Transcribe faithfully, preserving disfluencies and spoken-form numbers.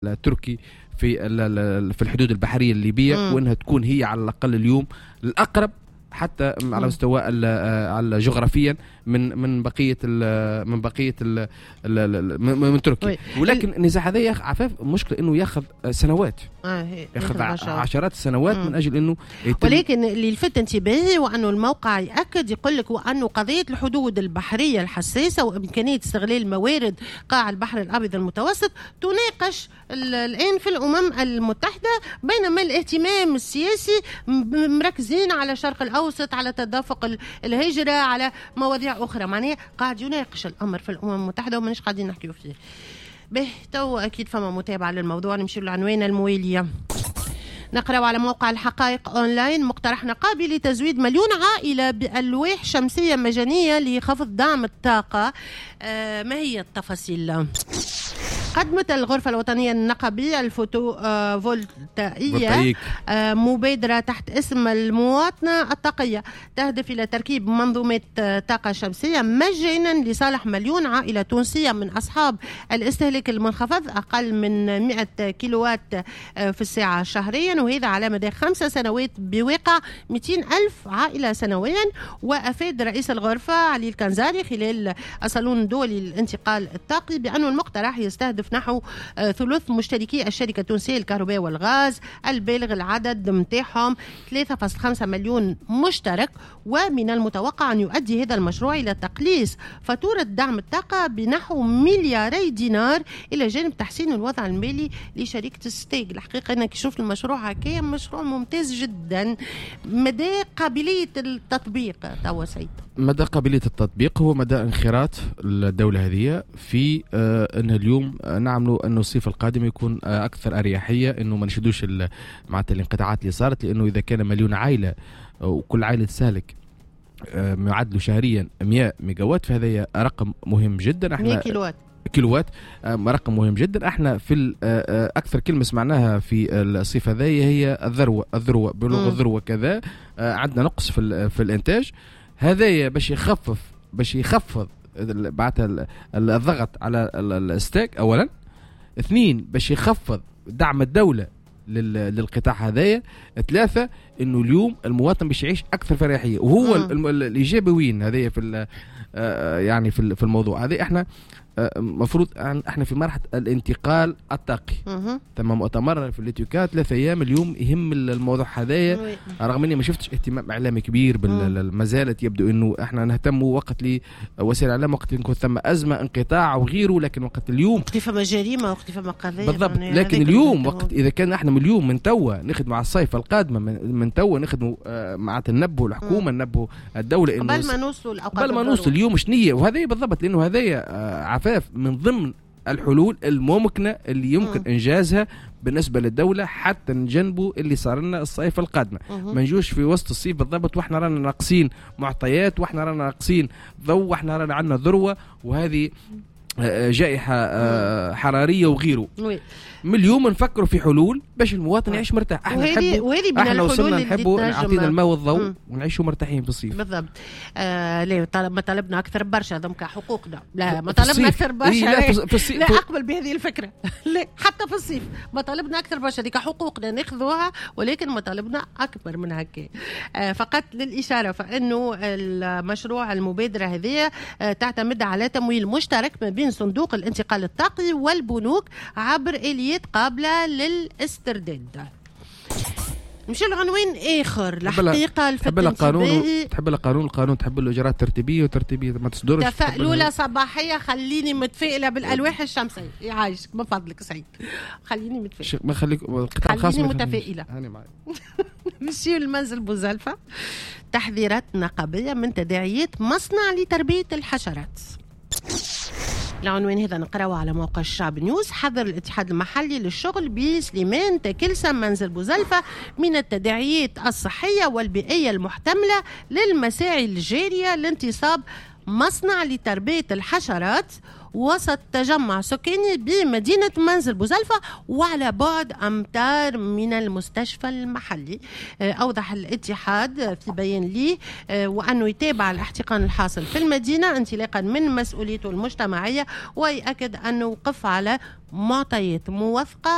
التركي في في الحدود البحرية الليبية، م. وانها تكون هي على الاقل اليوم الاقرب حتى على مستوى على جغرافيا من من بقية ال من بقية ال من تركيا. ولكن النزاع هذا عفاف مشكلة انه ياخذ سنوات، آه ياخذ عشرات السنوات مم. من اجل انه يتم. ولكن اللي لفت انتباهي وانه الموقع ياكد يقول لك وانه قضية الحدود البحرية الحساسة وامكانية استغلال موارد قاع البحر الابيض المتوسط تناقش الان في الامم المتحدة، بينما الاهتمام السياسي مركزين على الشرق الاوسط، على تدفق الهجرة، على مواضيع اخرى. معناها قاعد يناقش الامر في الامم المتحدة ومانيش قاعدين نحكيو فيه. به تو اكيد فما متابعه للموضوع. نمشي للعنوان الموالية، نقرأ على موقع الحقائق أونلاين: مقترح نقابي لتزويد مليون عائلة بألواح شمسية مجانية لخفض دعم الطاقة. آه ما هي التفاصيل؟ قدمت الغرفة الوطنية النقابية الفوتو فولتائية مبادرة تحت اسم المواطنة الطاقية تهدف إلى تركيب منظومة طاقة شمسية مجانا لصالح مليون عائلة تونسية من أصحاب الاستهلاك المنخفض أقل من مئة كيلووات في الساعة شهريا، وهذا على مدى خمس سنوات بواقع مئتين ألف عائلة سنويا. وأفاد رئيس الغرفة علي الكنزاري خلال الصالون الدولي للانتقال الطاقي بأن المقترح يستهدف نحو ثلث مشتركي الشركة التونسية للكهرباء والغاز البالغ العدد متاعهم ثلاثة فاصلة خمسة مليون مشترك، ومن المتوقع أن يؤدي هذا المشروع إلى تقليص فاتورة دعم الطاقة بنحو ملياري دينار، إلى جانب تحسين الوضع المالي لشركة الستاغ. الحقيقة أنا كي شفت المشروع هكايا مشروع ممتاز جدا. مدى قابلية التطبيق توا سيد؟ مدى قابلية التطبيق هو مدى انخراط الدولة هذه في آه أن اليوم نعملوا أنه الصيف القادم يكون آه أكثر أريحية، أنه ما نشدوش معناتها الانقطاعات اللي صارت، لأنه إذا كان مليون عائلة وكل عائلة تستهلك آه معدله شهريا مئة ميجاوات فهذا رقم مهم جدا. احنا مئة كيلووات كيلووات رقم مهم جدا. احنا في اكثر كلمة سمعناها في الصيف هذايا هي الذروة، الذروة بلغ الذروة كذا، عندنا نقص في في الانتاج. هذايا باش يخفف باش يخفض بعتها الضغط على الستاغ اولا، اثنين باش يخفض دعم الدولة للقطاع هذايا، ثلاثة انه اليوم المواطن باش يعيش اكثر فرحيه. وهو الايجابي وين هذايا في يعني في الموضوع هذا؟ احنا مفروض احنا في مرحلة الانتقال الطاقي. تم مؤتمر في الاتيوكا ثلاثة ايام اليوم يهم الموضوع هذايا، رغم اني ما شفتش اهتمام اعلامي كبير، ما زالت يبدو انه احنا نهتم وقت لوسائل الاعلام وقت نكون ثم ازمة انقطاع وغيره، لكن وقت اليوم وقت فما جريمة وقت فما قضية بالضبط. لكن اليوم وقت اذا كان احنا من اليوم من توا نخدموا على الصيف القادمة، من, من توا نخدموا مع ننبهوا الحكومة، ننبهوا الدولة انه قبل ما نوصلوا قبل ما نوصل اليوم شنية. وهذا بالضبط لانه هذايا عفاف من ضمن الحلول الممكنة اللي يمكن م. إنجازها بالنسبة للدولة حتى نجنبوا اللي صار لنا الصيف القادمة. ما نجوش في وسط الصيف بالضبط واحنا رانا ناقصين معطيات، واحنا رانا ناقصين ضوء، واحنا رانا عندنا ذروة وهذه جائحة حرارية وغيره. من اليوم نفكروا في حلول باش المواطن يعيش مرتاح. احنا نحبوا احنا وصلنا نحبوا نعطينا الماء والضوء ونعيشوا مرتاحين في الصيف بالضبط. آه لا طلب ما طلبنا اكثر برشا هذوك حقوقنا، لا ما طلبنا اكثر برشا. لا, في الصيف لا اقبل بهذه الفكرة لا حتى في الصيف ما طلبنا اكثر برشا، هذيك حقوقنا ناخذوها، ولكن ما طلبنا اكبر من هكا. آه فقط للاشارة فانه المشروع المبادرة هذه آه تعتمد على تمويل مشترك ما بين صندوق الانتقال الطاقي والبنوك عبر آليات قابلة للاسترداد. نمشي لعنوان آخر. الحقيقة تحب القانون، تحب القانون، القانون تحب الإجراءات الترتيبية وترتيبية ما تصدرش. تفاؤلولة صباحية، خليني متفائلة بالألواح الشمسية. يعايشك من فضلك سعيد، خليني متفائلة. ما خليك القطاع الخاص خليني متفائلة. نمشي للمنزل بوزلفة. تحذيرات نقابية من تداعيات مصنع لتربية الحشرات. العنوان هذا نقرأه على موقع الشعب نيوز. حذر الاتحاد المحلي للشغل بسليمان تكلسة منزل بوزلفة من التداعيات الصحية والبيئية المحتملة للمساعي الجارية لانتصاب مصنع لتربية الحشرات وسط تجمع سكاني بمدينة منزل بوزلفة وعلى بعد أمتار من المستشفى المحلي. آه، أوضح الاتحاد في بيان ليه آه، وأنه يتابع الاحتقان الحاصل في المدينة انطلاقا من مسؤوليته المجتمعية، ويأكد أنه وقف على معطيات موثقة.